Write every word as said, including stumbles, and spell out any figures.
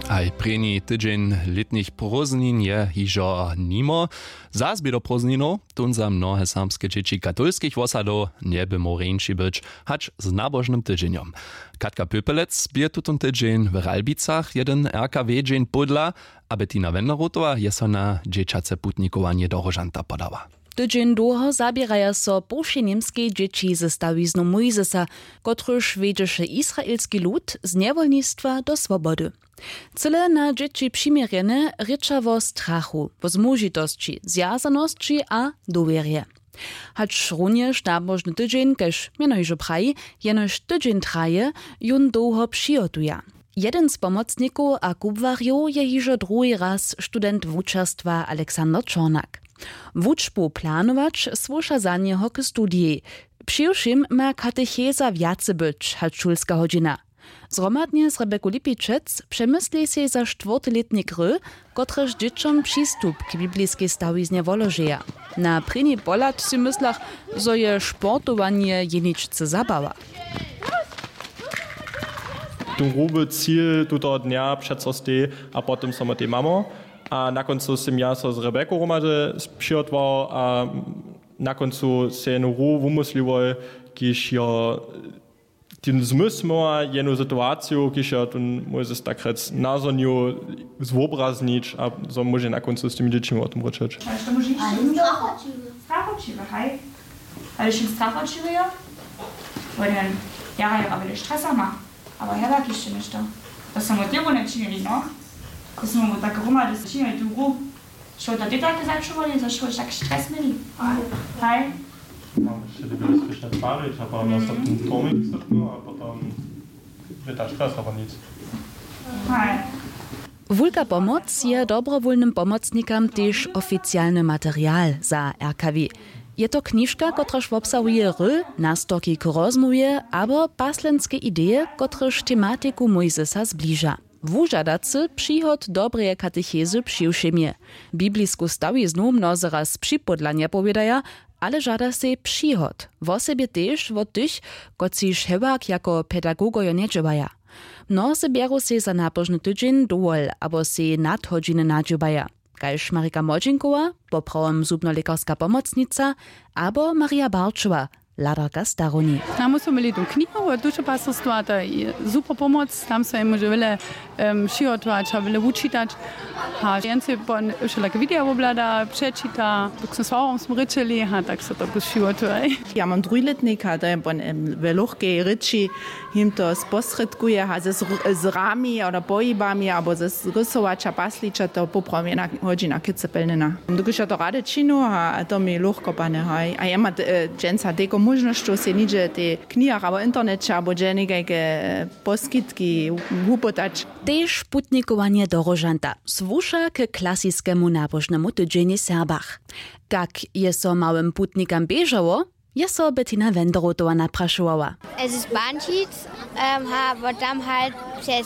Haj prěni tydźeń lětnich prózdnin je hižo nimo. Zas bě do prózdninow tón za mnohe serbske dźěći katolskich wosadow njeby móhł rjeńši być hač z nabožnym tydźenjom. Katka pöpelec bě tutón tydźeń w ralbicach jedyn rkw dźeń pódla, a bettina wenderotowa je so na dźěćace putnikowanje do róžanta podała. Tydźeń dołho zaběraja so połšej němskej dźěći ze stawiznu mójzesa, kotryž wjedźeše israelski lud z njewolnistwa do swobody. Cyle na dźěći přiměrjene rěča wo strachu, wo zmužitosći, zwjazanosći a dowěrje. Hačrunjež nabožny tydźeń kaž mjeno hižo praji, jenož tydźeń traje, jón dołho přihotuja. Jedyn z pomocnikow a kubłarjow je hižo druhi raz student wučerstwa aleksander čornak. Wučbu planować słuša za njeho k studijej. Přiwšěm ma katecheza wjace być hač šulska hodźina. Zhromadnje z rebeku lipičec přemysli sej za štwórty lětnik ry, kotrež dźěćom přistup k bibliskej stawiznje woložeja. Na prěni pohlad sej myslach, zo je sportowanje jeničce zabawa. Ten hruby cil tutoho dnja přeco stej, a potom so my tej mamo. A na kóncu sym ja so z rebeku hromady přihotował a na kóncu sej jenu hru wumysliłoj, kiž jo ten zmysł móhła jenu situaciju, kiž jo ten mójzes takrjec nazhonił, zwobraznić a zo móže na kóncu z tymi dźěćimi wo tym rěčeć. Strachoćiwy, haj. Ale wšěm strachoćiwy jo. Wone jara jo a wjele stresa ma. Abo hewak hišće něšto. To smy wot něbu nječinili, no. To smy mu tak hromady činili tu hru. Što to ty take začuwali, zo što tak stres měli? Haj. Mam hišće dobre słyšne twary, a potom nas ten tomik srpno a potom je ta stresa nic. Haj. Wulka pomoc je dobrowólnym pomocnikam tež oficialny material za rkw. Je to knižka, kotraž wobsahuje ry, nastorki k rozmołwje abo paslenske ideje, kotrež tematiku mójzesa zbliža. Wužadacy přihot dobreje katechezy přiwšěmje. Biblisku stawiznu mnozy raz připódla njepowědaja, ale žada sej přihot, wosebje tež wot tych, kotřiž hewak jako pedagogojo njedźěłaja. Mnozy bjeru sej za nabožny tydźeń dowol abo sej nadhodźiny nadźěłaja, kaž marika młodźinkowa, poprawom zubnolěkarska pomocnica, abo maria barčowa, hladarka starowni. Tam su měli tu knihu wot dušepastorstwa, to je super pomoc. Tam so jemu móže wjele přihotować a wjele wučitać. A wjencej pon wšelake wideo woblada, přečita, dok smy z faworom smy rěčeli a tak so to plus přihotuje. Ja mam druhi lětnik a to je pon we lochkej rěči, jim to sposrědkuje a z rami a pohibami abo z rysowaća paslića to poprawom jedna hodźina kětce pelnjena. Dokelž ja to rady činu a to mi lochko pane haj a ja ma dźensa tejko móžnosćow sej nihdźe w tej knihach abo interneće abo dźe někajke poskitki wupytać. Tež putnikowanje do róžanta słuša k klasiskemu nabožnemu tydźenjej w serbach. Kak je so małym putnikam běžało, je so bettina wenderotowa naprašowała. Es ist Bančic, ähm, ha, aber dann halt przez